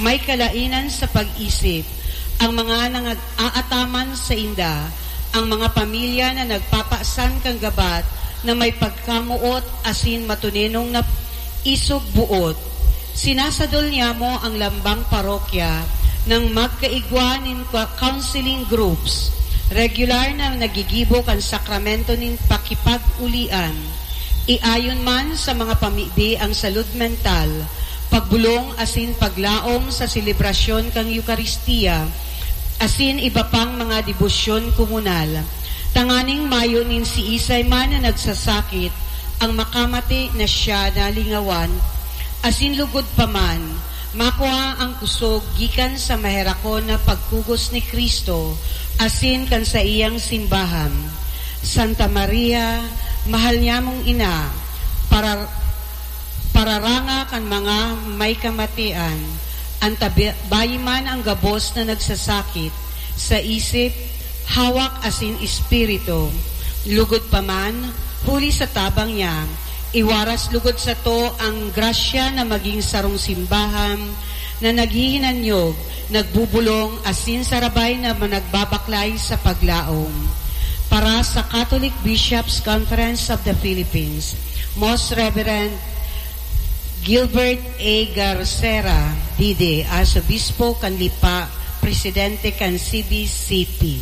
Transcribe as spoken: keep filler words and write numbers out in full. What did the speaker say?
May kalainan sa pag-isip ang mga nag-aataman sainda, ang mga pamilya na nagpapasan kan gabat na may pagkamoot asin matunenong na isog boot. Sinasadol niyamo ang lambang parokya nang magkaigwa nin kwa-, counseling groups, regular na nagigibo kan sakramento nin pakipag-ulian. Iayon man sa mga pamibi ang salud mental, pagbolong asin paglaom sa selebrasyon kan Eukaristia, asin iba pang mga debosyon komunal, tanganing mayo nin siisay man na nagsasakit ang makamate na siya nalingawan, asin lugod pa man, makua ang kusog gikan sa maherakon na pagkugos ni Cristo asin kan saiyang simbahan. Santa Maria, mahal niyamong ina, para-, pararanga kan mga may kamatian, antabi-, bayi man ang gabos na nagsasakit sa isip, hawak asin espiritu. Lugod pa man, huli sa tabang niya, iwaras lugod sato ang grasya na magin sarong simbahan na naghihinanyog, nagbubulong, asin sarabay na managbabaklay sa paglaom. Para sa Catholic Bishops' Conference of the Philippines, Most Reverend Gilbert A. Garcera, D D, Arsobispo kan Lipa, Presidente kan C B C P.